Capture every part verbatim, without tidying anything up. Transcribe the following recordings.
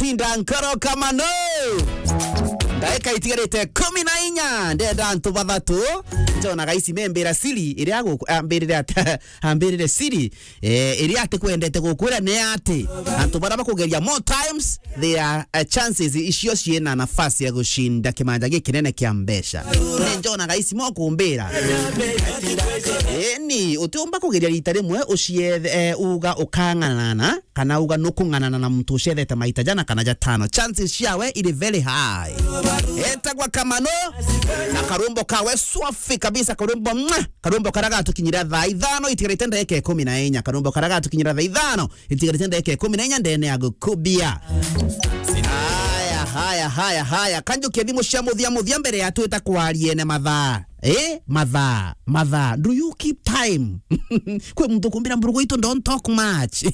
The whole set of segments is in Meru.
Tinda nkoro kama no. Ndaika itigarite kumi na inya, ndenda antu bathatu. Njona gaisi membira siri, iria guku-, ambirire ati, ambirire siri, eh, iria ati kwendete gukwira ni ati, antu bara bakugeria more times, their, eh, chances icio ciina nafasi ya gushinda kimanja gikinene kia mbeca. Ni njona gaisi mo kumbira. Eni, utiumba kugeria rita rimwe uciethe, eh, uga ukang'anana, kana uga nukung'anana na muntu ucethete maita jana kana jatano. Chances ciawe iri very high. Etagwa Kamano, na karwimbo kawe swafi kabisa, karwimbo, mwah, karwimbo karia gatukinyira thaa ithano itigarite ndagika ikumi na inya. Karwimbo karia gatukinyira thaa ithano itigarite ndagika ikumi na inya ndene ya gukubia. Haya, haya, haya, haya. Kanjukia thimu cia muthia muthia mbere ya twita kwariene mathaa. Eh, mathaa, mathaa. Do you keep time? Kwi muntu kumbira, "Mburugu itu, don't talk much."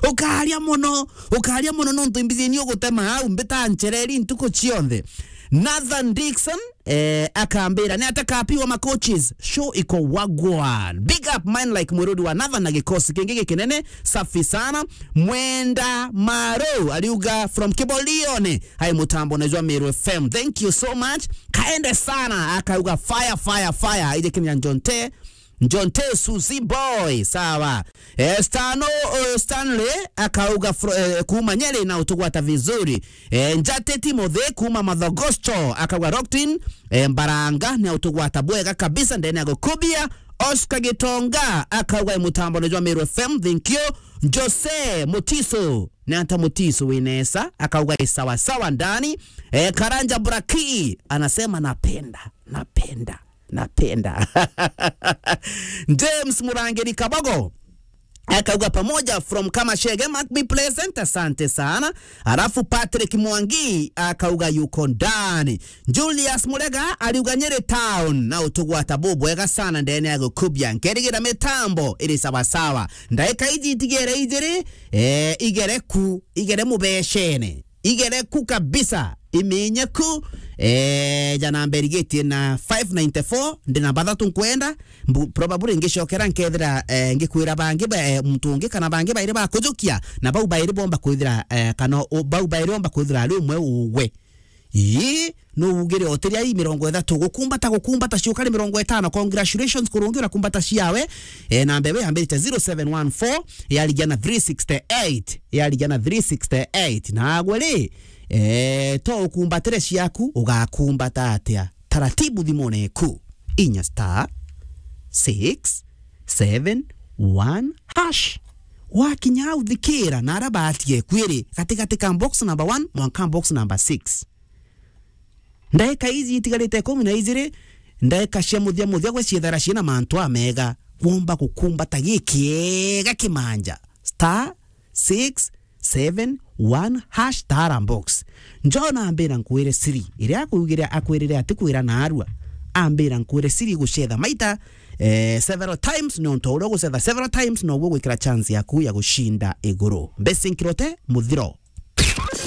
Ukaria mono, ukaria mono nontu imbizi ni ugutema au mbita nchereri ntuku cionthe. Nathan Dixon, eh, akambira, "Ni ata kapi wa macoaches? Show iko wagwan." Big up man like Mwiruri wa Nathan na gikosi kingi gikinene, safi sana. Mwenda Maro, ariuga from Kibolione, hai mutambo na jwa Meru F M. Thank you so much. Kaende sana, akauga, "Fire, fire, fire." Ije kinya Njonte, Njonte Suzy Boy, sawa. Eh, Stano, eh, Stanley, akauga fro-, eh, kuma Nyeri na utugwata vizuri. Eh, Njate Timothy kuma Mathogosto, akauga Rockton, eh, Mbaranga, ni utugwata bwega kabisa, ndene ya gukubia. Oscar Gitonga, akauga i mutambo ni jwa Meru F M, thank you. Jose Mutiso, ni ata Mutiso winesa, akauga i sawa sawa ndani. Eh, Karanja Buraki, anasema napenda, napenda. Napenda. James Murangiri Kabogo akauga pamoja from Kamashege, must be pleasant. Asante sana. Alafu Patrick Mwangi akauga yuko ndani. Julius Murega aliuga Nyeri town na utugwata bubwega sana ndene ya gukubia. Nkerigira mitambo iri sawa sawa. Ndaika iji itigere ijiri, eh, igere ku, igere mubeshene. Igere ku kabisa, imenye ku. Eh, jana mberigetie na five ninety-four, ndi namba thatu nkwenda. Mbu-, probably ngicokera nkethira, eh, ngikwira bangi ba, eh, muntu ungi kana bangi bairi bakujukia, na bau bairi bomba kwithira, eh, kana u-, bau bairi bomba kwithira ari umwe ugwe. Ii, no ugire otiria ii mirongo ithatu, gukumbata, gukumbata, ciukari mirongo itano. Congratulations, kurungi urakumbata ciawe. Eh, namba iwe yambirite zero seven one four, yarigia na three sixty-eight. Yarigia na three sixty-eight. Nagwe ri, eh, to ukumbatire ciaku, ugakumbata atia? Taratibu thimune eku. Inya star six seven one hash. Wakinya au thikira, na ara batie kwiri, gatigati ka box number one, mwanka box number six. Ndaika iji itigarite ikumi na ijiri, ndaika cia muthia muthia gwe ciethera ciina mantu amega, womba gukumbata gikiega kimanja. Star six seven one hash tara box. Njona ambira nkwire siri, iria akwigire akwirire ati kwira naarua. Ambira nkwire siri gucetha maita, eh, several times, nontu uria ugucetha several times, noguo gwikira chance yaku ya gucinda iguru. Mbesi nkirote muthiro.